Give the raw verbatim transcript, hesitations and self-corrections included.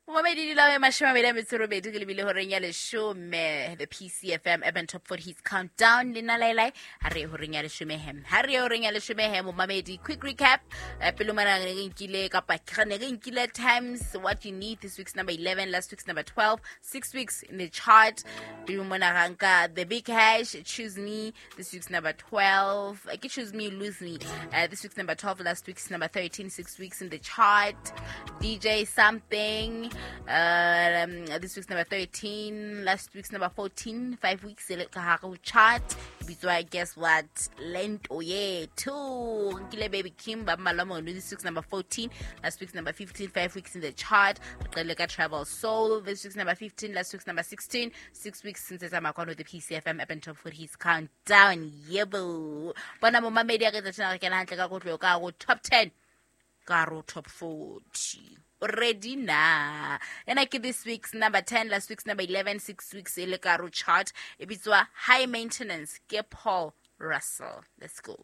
Momamedi dula e mashome a mabedi a metso e robedi ke lebile horeng ya leshome, the P C F M Urban Top forty Hits Countdown le nna Lailai. Ha re ye horeng ya leshome hem, ha re ye horeng ya leshome he momamedi. Quick recap, eh, pele mona ne re nkile kapa re ne re nkile Times What You Need, this week's number eleven, last week's number twelve, six weeks in the chart. Pele mona ra nka The Big Hash, Choose Me, this week's number twelve. Eh, ke Choose Me Lose Me, uh, this week's number twelve, last week's number thirteen, six weeks in the chart. D J Something, um, this week's number thirteen, last week's number fourteen, five weeks e le ka hare ho chart, bitswa Guess What, Lento Yethu. Nkile Baby Kim ba mmalwa mono, this week's number fourteen, last week's number fifteen, five weeks in the chart. Re qale ka Travel Soul, this week's number fifteen, last week's number sixteen, six weeks since tsamaya kwano, the P C F M Urban Top forty Hits Countdown. Yebo, bona momamedi, a re tsa re kena hantle ka kotlo ka go top ten, ka ro top forty already na. Ena ke this week's number ten, last week's number eleven, six weeks e le ka ro chart, e bitswa High Maintenance, ke Paul Russell. Let's go.